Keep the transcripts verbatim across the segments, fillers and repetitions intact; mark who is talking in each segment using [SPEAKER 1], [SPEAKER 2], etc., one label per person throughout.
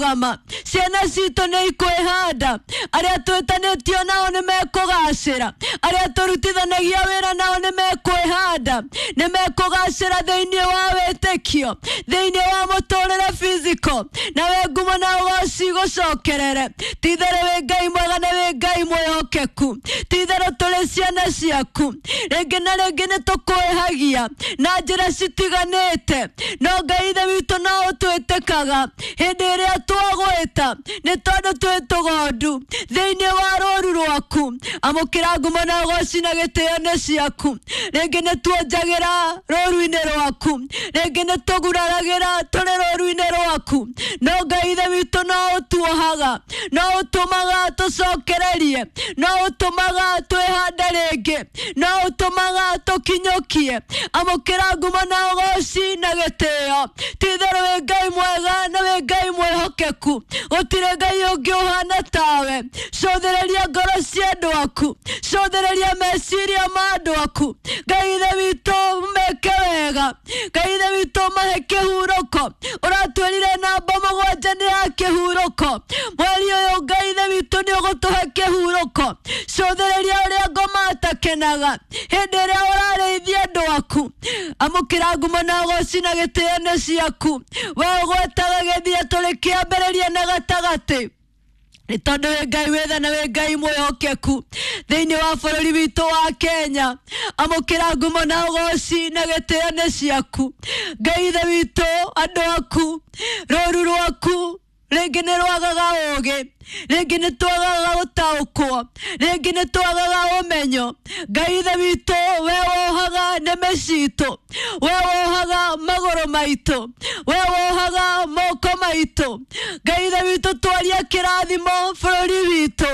[SPEAKER 1] ikũrũgama, ciana citũ nĩ ikwĩhanda, arĩa twĩtanĩtio nao nĩ mekũgacĩra, arĩa tũrutithanagia wĩra nao nĩ mekwĩhanda, nĩ mekũgacĩra thĩinĩ wa wĩtĩkio, thĩinĩ wa mũtũrĩre physical, nawe ngumo na ũgoci gũcokerere. Ti-itherũ wĩ Ngai mwega na wĩ Ngai mwĩhokeku, ti-itherũ tũrĩ ciana ciaku, rĩngĩ na rĩngĩ nĩ tũkwĩhagia na njĩra citiganĩte, no Ngai ithe witũ no ũtwĩtĩkaga hĩndĩ ĩrĩa twagwĩta, nĩ tondũ twĩ tũgondu thĩinĩ wa rũru rwaku. Amũkĩra ngumo na ũgoci na gĩtĩo nĩ ciaku. Rĩngĩ nĩ tuonjagĩra rũru-inĩ rwaku, rĩngĩ nĩ tũguraragĩra tũrĩ rũru-inĩ rwaku, no Ngai ithe witũ no ũtuohaga, no ũtũmaga tũcokererie, no ũtũmaga twĩhande rĩngĩ, no ũtũmaga tũkinyũkie. Amũkĩra ngumo na ũgoci na gĩtĩo. Ti-itherũ wĩ Ngai mwega na wĩ Ngai mwĩhokeku, gũtirĩ Ngai ũngĩ ũhana tawe. Cũthĩrĩria ngoro cia andũ aku, cũthĩrĩria meciria ma andũ aku. Ngai ithe witũ meke wega, Ngai ithe witũ mahe kĩhurũko. Ũratwĩrire namba mũgwanja nĩ ya kĩhurũko, mweri ũyũ Ngai ithe witũ nĩ ũgũtũhe kĩhurũko. Cũthĩrĩria ũrĩa ngoma atakenaga hĩndĩ ĩrĩa ũrarĩithia andũ aku. Amũkĩra ngumo na ũgoci na gĩtĩo nĩ ciaku. We ũgwetaga gĩthia tũrĩ kĩambĩrĩria na gatagatĩ, nĩ tondũ wĩ Ngai wĩ tha na wĩ Ngai mwĩhokeku thĩinĩ wa bũrũri witũ wa Kenya. Amũkĩra ngumo na ũgoci na gĩtĩo nĩ ciaku. Ngai ithe witũ, andũ aku, rũru rwaku rĩngĩ nĩ rwagaga ũũgĩ, rĩngĩ nĩ twagaga gũtaũkwo, rĩngĩ nĩ twagaga ũmenyo. Ngai ithe witũ, we wohaga nĩmĩ citũ, we wohaga magũrũ maitũ, we wohaga moko maitũ. Ngai ithe witũ, twaria kĩrathimo bũrũri witũ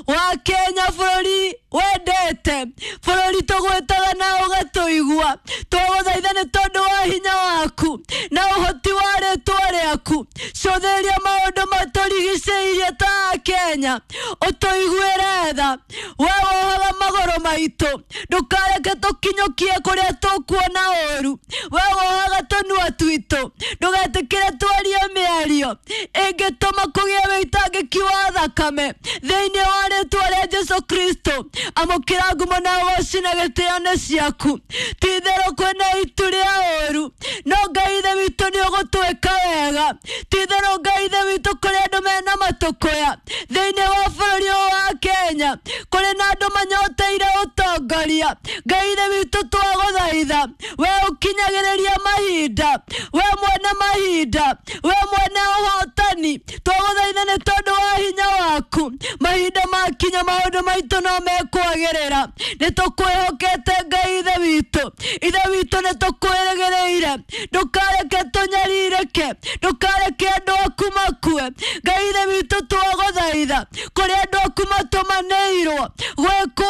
[SPEAKER 1] wa Kenya, bũrũri wendete, bũrũri tũgwĩtaga na ũgatũigua. Twagũthaitha nĩ tondũ wa hinya waku na ũhoti wa rĩtwa rĩaku, cũthĩrĩria maũndũ matũrigicĩirie ta Kenya, ũtũiguĩre tha. We wohaga magũrũ maitũ, ndũkareke tũkinyũkie kũrĩa tũkuona ũru. We wohaga tũnua twitũ, ndũgetĩkĩre twarie mĩario ĩngĩtũma kũgĩe wĩitangĩki wa thakame thĩinĩ wa rĩtwa rĩa Jesu Kristo. Amũkĩra ngumo na ũgoci na gĩtĩo nĩ ciaku. Ti-itherũ kwĩna itu rĩa ũru, no Ngai ithe witũ nĩ ũgũtwĩka wega. Ti-itherũ Ngai ithe witũ, kũrĩ andũ mena matũkũya thĩinĩ wa bũrũri ũyũ wa Kenya, kũrĩ na andũ manyoteire ũtongoria. Ngai ithe witũ, twagũthaitha, we ũkinyagĩrĩria mahinda, we mwene mahinda, we mwene ũhotani, twagũthaitha nĩ tondũ wa hinya waku. Mahinda makinya maũndũ maitũ no mekwagĩrĩra. Nĩ tũkwĩhokete Ngai ithe witũ, ithe witũ nĩ tũkwĩrĩgĩrĩire. Ndũkareke tũnyarirĩke, ndũkareke andũ aku makue. Ngai ithe witũ, twagũthaitha, kũrĩ andũ aku matũmanĩirwo gwĩkwo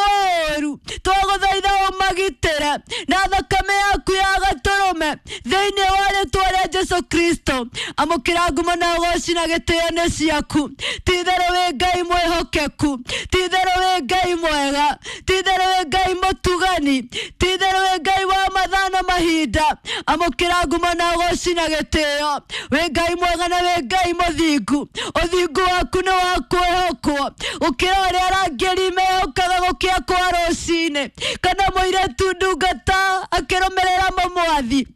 [SPEAKER 1] ũũru, twagũthaitha ũmagitĩre na thakame yaku ya gatũrũme thĩinĩ wa rĩtwa rĩa Jesu Kristo. Amũkĩra ngumo na ũgoci na gĩtĩo nĩ ciaku. Ti-itherũ wĩ Ngai mwĩhokeku, ti-itherũ wĩ Ngai mwega, ti-itherũ wĩ Ngai mũtugani, ti-itherũ wĩ Ngai wa mathaa na mahinda. Amũkĩra ngumo na ũgoci na gĩtĩo. Wĩ Ngai mwega na wĩ Ngai mũthingu, ũthingu waku nĩ wa kwĩhokwo gũkĩra ũrĩa arangĩri mehokaga gũkĩa kwa rũcinĩ, kana mũirĩtu ndungata akĩrũmĩrĩra mũmwathi.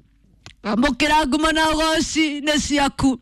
[SPEAKER 1] Amũkĩra ngumo na ũgoci nĩ ciaku,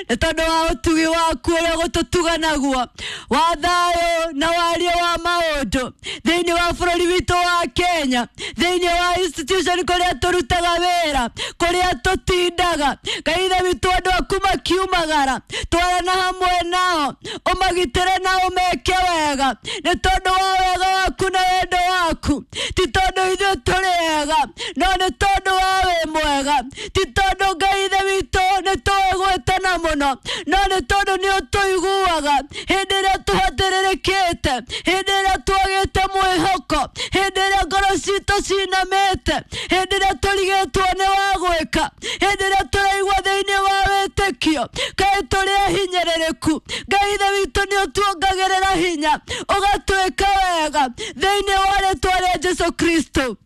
[SPEAKER 1] nĩ tondũ wa ũtugi waku ũrĩa ũgũtũtuga naguo wa thayũ na wario wa maũndũ thĩinĩ wa bũrũri witũ wa Kenya, thĩinĩ wa institution kũrĩa tũrutaga wĩra, kũrĩa tũtindaga. Ngai ithe witũ, andũ aku makiumagara, twarana hamwe nao, ũmagitĩre na ũmeke wega, nĩ tondũ wa wega waku na wendo waku. Ti tondũ ithuĩ tũrĩ ega, no nĩ tondũ we wĩ mwega. Ti tondũ Ngai ithe witũ nĩ tũĩ gwĩtana mũno, no nĩ tondũ nĩ ũtũiguaga hĩndĩ ĩrĩa tũhatĩrĩrĩkĩte, hĩndĩ ĩrĩa twagĩte mwĩhoko, hĩndĩ ĩrĩa ngoro citũ cinamĩte, hĩndĩ ĩrĩa tũrigĩtwo nĩ wa gwĩka, hĩndĩ ĩrĩa tũraigua thĩinĩ wa wĩtĩkio kaĩ tũrĩ ahinyĩrĩrĩku. Ngai ithe witũ nĩ ũtuongagĩrĩra hinya, ũgatwĩka wega thĩinĩ wa rĩtwa rĩa Jesu Kristo.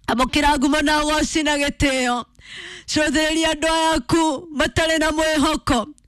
[SPEAKER 1] Amũkĩra ngumo na ũgoci na gĩtĩo. Cũthĩrĩria andũ aya aku matarĩ na mwĩhoko.